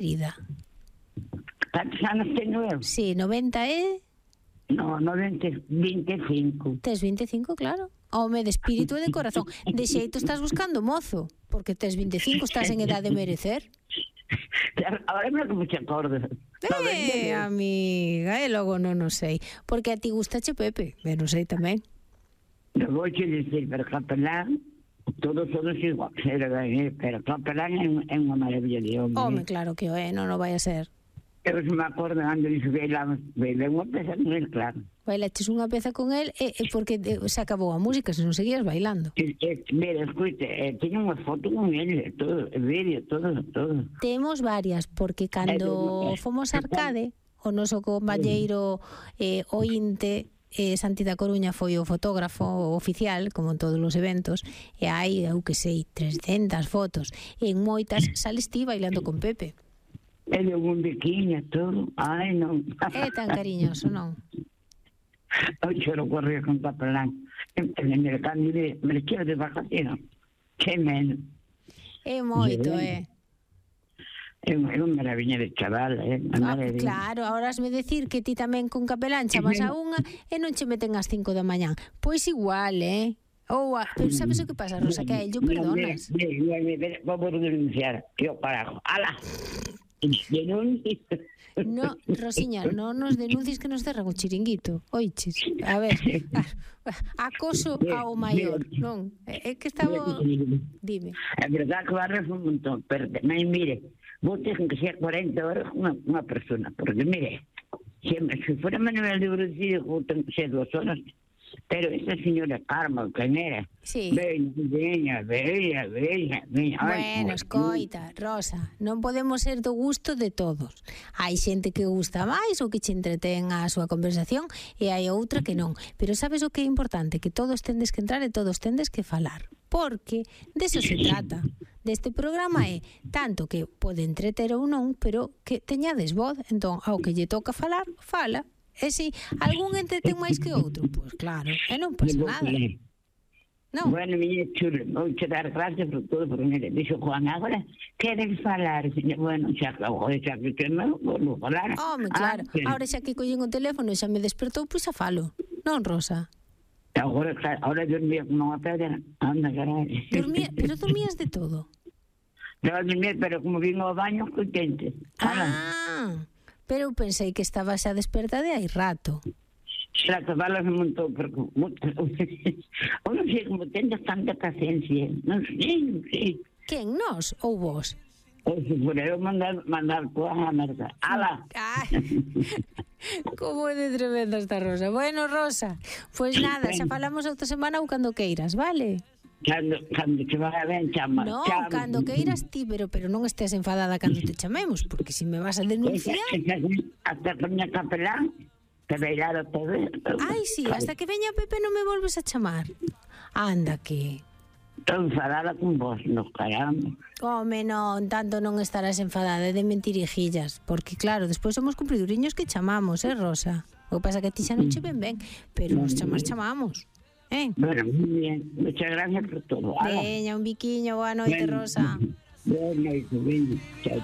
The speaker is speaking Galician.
querida? Cantos anos teño eu? Sí, 90 e... No, 25. Tes 25, claro. Home, de espírito e de corazón. De xeito estás buscando mozo, porque tes 25, estás en edad de merecer. Ahora me que mucha acordo. Amiga, e logo non o sei. Porque a ti gustache Pepe, ben non sei tamén. Non vou che dicir, pero Capelán, todos igual, pero Capelán é unha maravilla de hombre. Home, claro que o é, non o vai a ser. Eu se me acordo cando dixo que bailamos unha peza con el, claro. Bailaches unha peza con el porque se acabou a música, se non seguías bailando. Mira, escute, teño unha foto con el, todo, vídeo, todo. Temos varias, porque cando fomos a Arcade, o noso compañeiro ointe, Santi da Coruña foi o fotógrafo oficial, como en todos os eventos, e hai, eu que sei, 300 fotos, e en moitas sales ti bailando con Pepe. É de un biquiño, todo. Ai, non. É tan cariñoso, non? Eu choro correr con Capelán. Me quedo de vacaciones. Que menos. É moito, É unha maravilla de chaval, Claro, ahora hasme decir que ti tamén con Capelán chamas a unha e non che meten ás 5 da mañán. Pois igual, pero sabes o que pasa, Rosa, que a ello perdonas. Vamos a denunciar. Eu carajo. Ala. No, Rosiña, non nos denuncies que nos cerran o chiringuito. Oiches, a ver, acoso ao maior, non? É que estaba... Dime. É verdad que barre foi un montón, pero mire, vos ten que ser 40 horas unha persona, porque mire, se fuera Manuel de Brucillo, ten que ser 2 horas. Pero esa señora Carmen, quen era? Sí. Veña. Bueno, escoita, Rosa, non podemos ser do gusto de todos. Hai xente que gusta máis ou que che entretén a súa conversación e hai outra que non. Pero sabes o que é importante? Que todos tendes que entrar e todos tendes que falar. Porque deso se trata. Deste programa é tanto que pode entreter ou non, pero que teñades voz. Entón, ao que lle toca falar, fala. E si algún entretén máis que outro, pois claro, e non pasa nada. Non. Bueno, miña chulo, vou che dar gracias por todo, porque mire, dixo Juan, agora queres falar? Bueno, xa que non vou falar. Home, claro, agora xa que collín o teléfono e xa me despertou, pois xa falo. Non, Rosa? Agora dormía como unha pedra, anda, carai. Pero dormías de todo? Daba dormir, pero como vino ao baño, contente. Pero eu pensei que estaba xa desperta de hai rato. Xa que falas un montón, porque eu non sei como tendes tanta paciencia. Non sei. Quen, nós ou vos? Ou se por eu mandar toda a merda. Ala! Como é de tremenda esta Rosa. Bueno, Rosa, pois nada, xa falamos outra semana ou cando queiras, vale? Cando te vai ben, chama. Non, cando queiras ti, pero non estés enfadada cando te chamemos, porque se me vas a denunciar... Hasta que veña Capelán, que bailara todo. Ai, sí, hasta que veña Pepe non me volves a chamar. Anda que... Estou enfadada con vos, no caramba. Home, non, tanto non estarás enfadada de mentirijillas, porque claro, despois somos cumpriduriños que chamamos, Rosa? O que pasa que a ti xa non che ven ben, pero os chamamos. Bueno, muy bien. Muchas gracias por todo. Veña, un biquiño, boa noite, Rosa. Boa noite, veña. Chao.